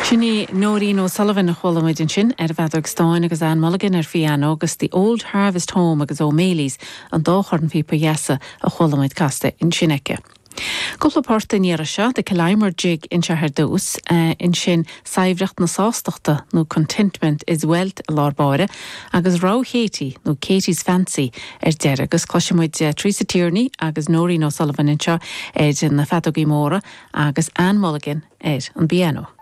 Sin í Nóirín O'Sullivan a chuala muid ansin ar an bhfeadóg stáin agus Ann Mulligan ar phianó agus The Old Harvest Home agus O'Malley's an dá chornphíopa dheasa a chuala muid casta ansin aici. Cúpla port an iarraidh seo, The Killimor Jig anseo ar dtús, ansin Saidhbhreacht na Sástachta nó Contentment is Wealth i lár báire agus Rogha Chéití nó Katey's Fancy ar deireadh agus cloisfidh muid Teresa Tierney agus Nóirín O'Sullivan anseo ar na feadógaí móra agus Ann Mulligan ar an bpianó.